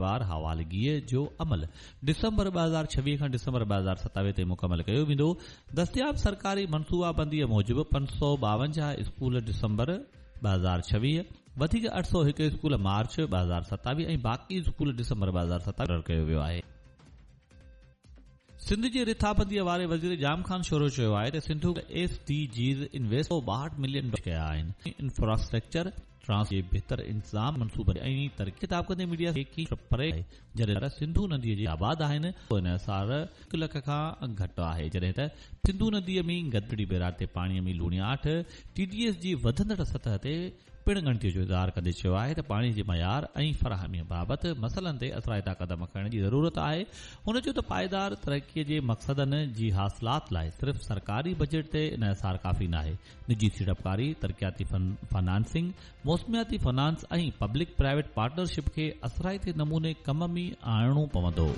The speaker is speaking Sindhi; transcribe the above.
وار حوالگيء جو عمل ڊسمبر 2026 کان ڊسمبر 2027 تائين مڪمل ڪيو ويندو. دستياب سرڪاري منصوبابنديء موجب 552 اسڪول ڊسمبر 2026، وڌيڪ 801 اسڪول مارچ 2027 ۽ باقي اسڪول ڊسمبر 2027 مقرر ڪيو ويو آهي. سنڌ جي رٿابنديء واري وزير ڄام خان شورو چيو آهي ته Sindh S D Gs invest 162 million dollar ڪيا آهن انفراسٽرڪچر ٽرانس جي بهتر انتظام منصوبن ۽ ترقي خطاب ڪندي ميڊيا کي پري آهي جڏهن ته سنڌو نديء جي آباد آهن انحصار هڪ لک کان گهٽ آهي جڏهن ته سنڌو نديء ۾ گدڙي بيراج تي پاڻي ۾ لوڻياٺ ٽي ڊي ايس جي وڌندڙ سطح تي پڻ ڳڻتي جو اظهار ڪندي چيو آهي ته پاڻي جي معيار ۽ فراهمي بابت مسئلن تي اثرائتا قدم کڻڻ جي ضرورت آهي. هن چيو ته پائيدار ترقي جي مقصدن جي حاصلات لاء صرف سرڪاري بجيٽ تي انحصار ڪافي ناهي، نجي سيڙپڪاري، ترقياتي فنانسنگ، موسمياتي فنانس ۽ پبلڪ پرائيويٽ پارٽنرشپ کي اثرائتي نموني ڪم ۾ آڻڻو پوندو.